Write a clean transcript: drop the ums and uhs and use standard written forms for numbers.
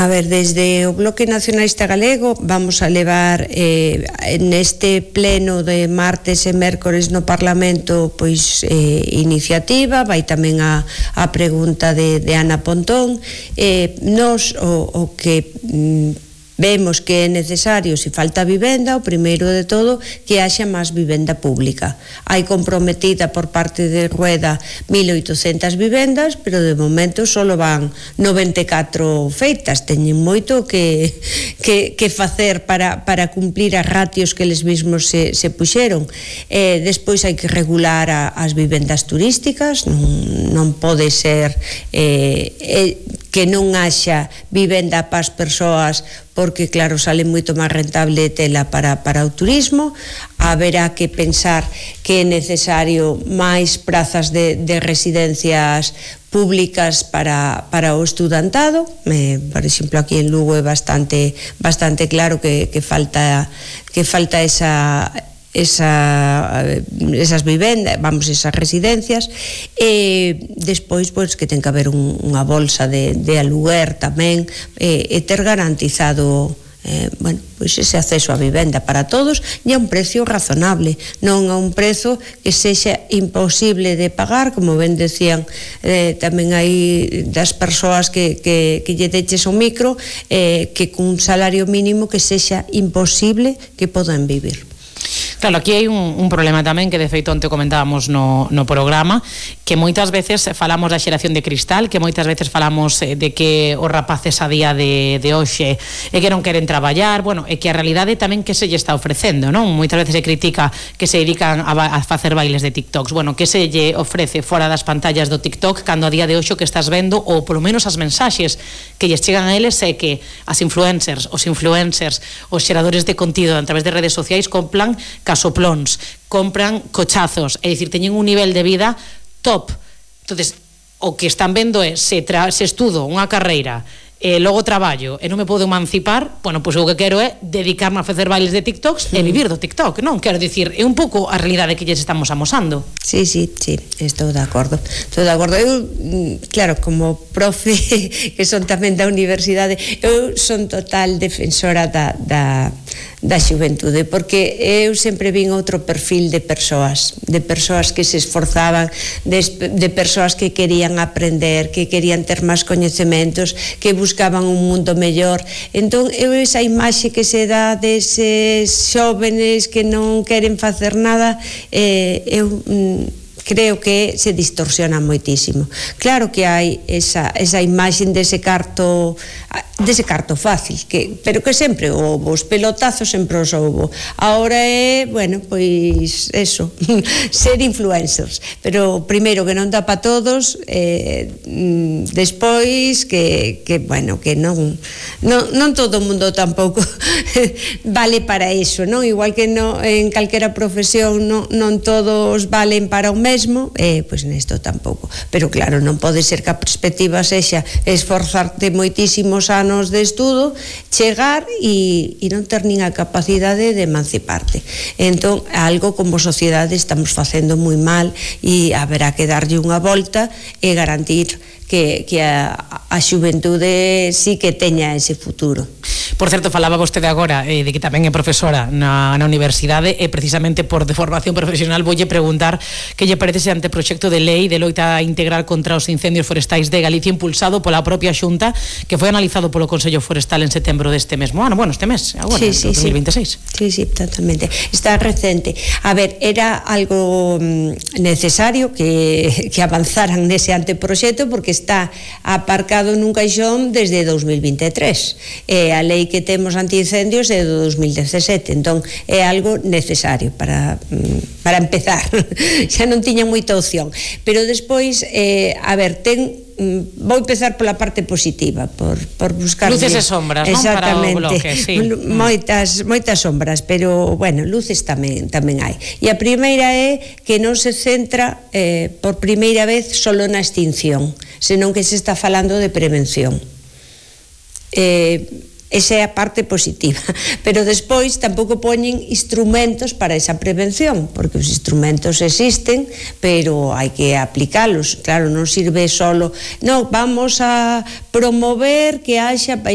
A ver, desde o Bloque Nacionalista Galego vamos a levar neste pleno de martes e mércores no Parlamento pois iniciativa, vai tamén a pregunta de Ana Pontón. Nos o que vemos que é necesario, se falta vivenda, o primeiro de todo, que haxa máis vivenda pública. Hai comprometida por parte de Rueda 1.800 vivendas, pero de momento só van 94 feitas. Teñen moito que facer para cumplir as ratios que eles mesmos se puxeron. Despois hai que regular as vivendas turísticas, non pode ser que non haxa vivenda para as persoas, porque claro, sale moito máis rentable tela para o turismo. Haberá que pensar que é necesario máis prazas de residencias públicas para o estudantado. Por exemplo, aquí en Lugo é bastante claro que falta esas vivendas, esas residencias. Despois, pois, que ten que haber unha bolsa de aluguer tamén, e ter garantizado pois ese acceso á vivenda para todos e a un precio razonable, non a un prezo que sexa imposible de pagar, como ben decían tamén hai das persoas que lle deches o micro, que cun salario mínimo que sexa imposible que podan vivir. Claro, aquí hai un problema tamén que de feito onte comentábamos no programa, que moitas veces falamos da xeración de cristal, que moitas veces falamos de que os rapaces a día de hoxe é que non queren traballar, e que a realidade tamén que se lle está ofrecendo, non? Moitas veces se critica que se dedican a facer bailes de TikToks, que se lle ofrece fora das pantallas do TikTok, cando a día de hoxe o que estás vendo, ou polo menos as mensaxes que lles chegan a eles, é que as influencers, os xeradores de contido a través de redes sociais compran casoplóns, compran cochazos, é dicir, teñen un nivel de vida top. Entonces, o que están vendo é se estudo unha carreira e logo traballo e non me podo emancipar, pois o que quero é dedicarme a facer bailes de TikToks e vivir do TikTok, non? Quero dicir, é un pouco a realidade que lles estamos amosando. Sí, estou de acordo. Eu, claro, como profe que son tamén da universidade, eu son total defensora da xuventude, porque eu sempre vin outro perfil de persoas que se esforzaban, de persoas que querían aprender, que querían ter máis coñecementos, que buscaban un mundo mellor. Entón, eu esa imaxe que se dá deses xóvenes que non queren facer nada, eu creo que se distorsiona moitísimo. Claro que hai esa imaxe dese carto fácil, pero que sempre houve, os pelotazos sempre os houve. Ahora é, pois eso, ser influencers, pero primeiro que non dá para todos, despois que non todo o mundo tampouco vale para eso, non? Igual que en calquera profesión non todos valen para o mesmo, pois nesto tampouco. Pero claro, non pode ser que a perspectiva sexa esforzarte moitísimos anos de estudo, chegar e non ter nin a capacidade de emanciparte. Entón, algo como sociedade estamos facendo moi mal e haberá que darlle unha volta e garantir que a xuventude sí que teña ese futuro. Por certo, falaba vostede agora de que tamén é profesora na universidade, e precisamente por de formación profesional voulle preguntar que lle parece ese anteproxecto de lei de loita integral contra os incendios forestais de Galicia, impulsado pola propia Xunta, que foi analizado polo Consello Forestal en setembro deste mesmo ano, este mes, agora, sí, 2026. Sí, totalmente. Está recente. A ver, era algo necesario que avanzaran nese anteproxecto, porque está aparcado nun caixón desde 2023. A lei que temos antiincendios é do 2017, entón é algo necesario para empezar. Xa non tiña moita opción, pero despois, a ver, vou empezar pola parte positiva, por buscar luces e sombras, non? Para o bloque, sí. Moitas sombras, pero luces tamén hai. E a primeira é que non se centra por primeira vez solo na extinción, senón que se está falando de prevención. Esa é a parte positiva, pero despois tampouco poñen instrumentos para esa prevención, porque os instrumentos existen, pero hai que aplicalos. Claro, non sirve solo, non, vamos a promover que haxa